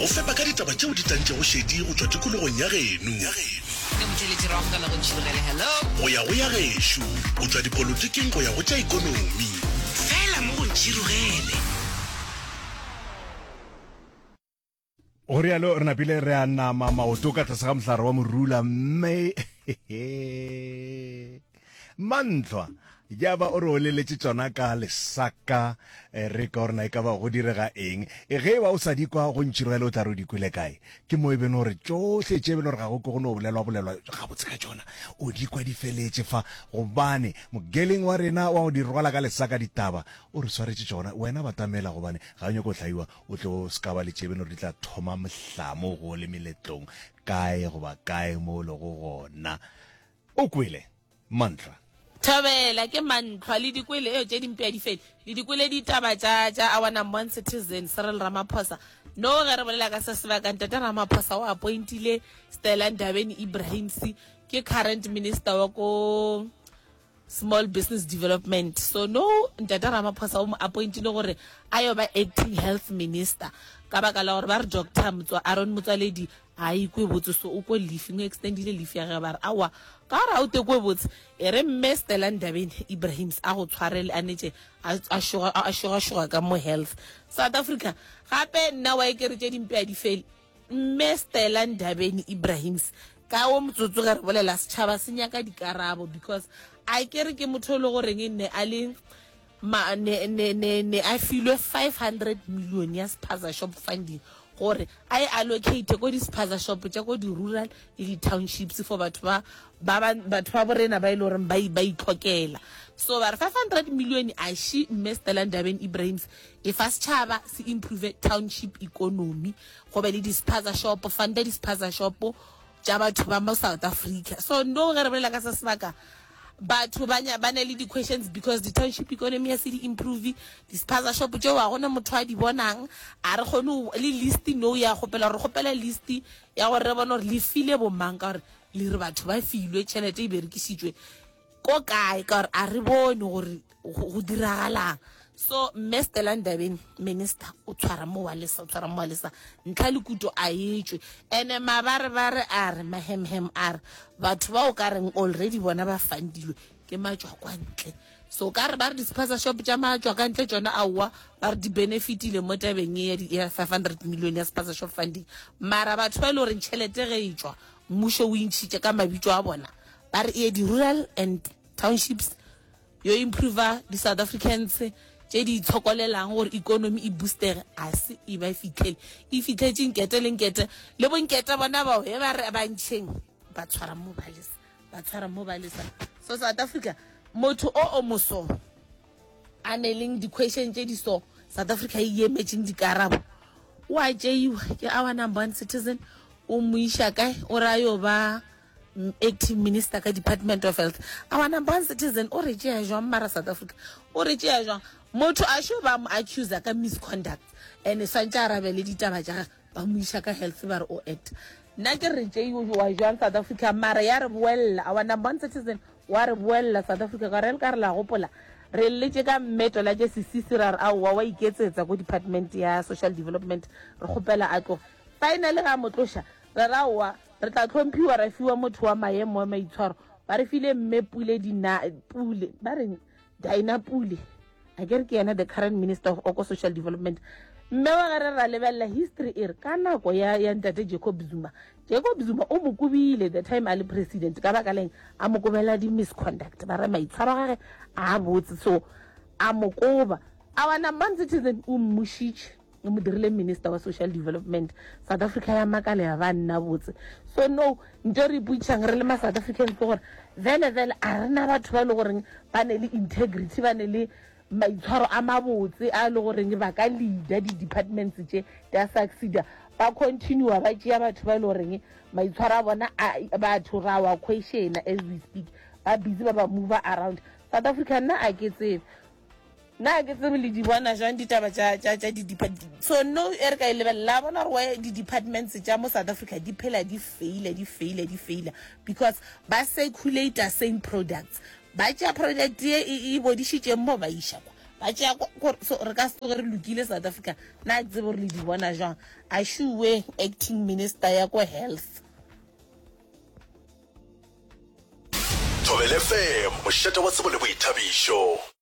Go fepa ka ditaba tšeo di tantšego šedi go tšwa tikologong ya geno. Ke motheeletši re amogela go Ntšhirogele. Hello. Go ya go ya gešo, go tšwa dipolotiking go ya go tša ekonomi. Fela mo go Ntšhirogele. Go rialo re napile re a nama maoto ka tlase ga mohlare wa morula mme mantlhwa ya ba o re oleletše tšona ka lesaka eh, re ka gore na e ka ba go direga eng e ge e ba o sa di kwa go ntširogele o tla re o di kwele kae ke mo e beno gore tšohle tše beno gore ga go ke go no bolelwa bolelwa gabotse ka tšona o di kwa di feletše fa gobane mogeleng wa rena wa go di rwala ka lesaka ditaba o re swaretše tšona wena batamela gobane ga o nyako hlaiwa O tlo se ka ba le tšebeno di tla thoma mohlamo go le meletlong kae goba kae mo o lego gona. O kwele, Mantlhwa. Thobela, ke Mantlhwa. Le di kwele, eo tše dimpe a di fele. Le di kwele ditaba tša, tša our number one citizen, Cyril Ramaphosa. No, ge re bolela ka se sebaka, Ntate Ramaphosa o appointile Stella Ndabeni Ibrahims, ke current minister wa ko Small Business Development. So no, Ntate Ramaphosa o mo appointile gore a yo ba acting health minister ka baka la gore ba re Doctor Motswa, Aaron Motsoaledi ga a ikwe botse, so o ko leave, o extendile leave ya gage, ba re aowa ka gore ga o tekwe botse, e re mme Stella Ndabeni Ibrahims a go tshwarele a netše a a šogašoga ka mo health. South Africa gape nna wa ekere tše dimpe a di fele. Mme Stella Ndabeni Ibrahims, ka wo motsotso ge re bolela setšhaba se nyaka dikarabo because a ke re ke motho e le goreng ne a le ma, ne, ne, ne, ne a filwe 500 million ya spaza shop funding gore a e allocate ko di-spaza shop tša ko di-rural le di-townships for batho ba ba ba batho ba borena ba e le goreng ba ba itlhokela. So ba re 500 million a she mme Stella Ndabeni Ibrahims E fa setšhaba se improve township economy, go be le di-spaza shop, funda di-spaza shop tša batho ba mo South Africa. So no ge re bolela ka se sebaka, batho ba ba ne le di-questions because di-township economy ya se di improve, di-spaza shop tšeo ga gona motho a di bonang, a re kgone le list no ya kgopela gore kgopela list ya gore re bone gore le file bomang ka gore le re batho ba filwe tšhelete e berekisitšwe ko kae ka gore a re bone gore go diragalang. So mme Stella Ndabeni minister o tshwara mo wa lesa o tshwara mo wa lesa ntlha le kuto a etšwe ene mabarebare a re mahemhem a re batho ba o ka reng already bona ba fandilwe ke matšwa kwa ntle so ka re ba re di-spaza shop tša matšwa ka ntle tšona aowa ba re di benefitile mo tabeng e ya 500 million ya spaza shop funding mara batho ba e le goreng tšhelete ge e tšwa mmušo o intšhitše ka mabitso a bona ba re e ye di-rural and townships yo improver di South Africans tše di itshokolelang gore economy e boostere a se e ba fitlhele e fitlhetše nkete le nkete le bonkete bona bao e ba re ba ntšheng ba tshwara mo ba lesa ba tshwara mo ba lesa so South Africa motho o o moso a ne leng di-question tše di so South Africa e emetšeng dikarabo o a tšeiwa ke our number one citizen o mo iša kae o ra yo ba Acting Minister ka Department of Health. Our number one citizen o re tšea jwang mara South Africa? O re tšea jwang? Motho a sho ba mo accuser ka misconduct and swantše a arabele ditaba tša gage ba mo iša ka health ba re o act. Nna ke re tšeiwa jwang South Africa mara ya re boella our number one citizen wa re boella South Africa ka re le ka re la gopola re lletše ka mmeto la tše sesisi ra re aowa wa iketsetsa ko department ya social development re kgopela a tloge finally ga mo tloša re ra aowa Re tla hlomphiwa ra fiwa motho wa maemo wa maitshwaro. Ba re file Mme Pule Dina, Pule, ba reng? Dinah Pule. A ke re ke yena the current minister of Oko Social Development. Mme wa ge re ra lebelela history e re ka nako ya, ya ntate Jacob Zuma, Jacob Zuma o mo kobile the time a le president ka baka leng a mo kobela di-misconduct ba re maitshwaro a gage a botse so a mo koba. Our number one citizen o mmušitše. E mo dirile minister wa social development. South Africa ya makala ya ba nna botse. So no, nto re ipotšišang re le ma South Africans ke gore vele vele a re na batho ba e le goreng ba ne le integrity, ba ne le maitshwaro a mabotse a e le goreng ba ka leader di-departments tše di a succeeda. Ba continue ba tšea batho ba e le goreng maitshwaro a bona a batho ra wa questiona as we speak. Ba busy ba ba move around. South Africa nna a ke tsebe. Nna ga ke tsebe le di bona jwang ditaba tša, tša, tša di-depart-, so no e re ka e lebelela, la bona gore why di-departments tša mo South Africa di phela di faila, di faila, di faila, because ba circulator same products. Ba tšea product ye e, e bodišitšeng mo ba iša kwa. Ba tšea gore so re ka se tsoge re lokile South Africa. Na ke tsebe gore le di bona jwang. A šuwe acting minister ya ko health. Thobela FM, mošate wa tsebo le boithabišo.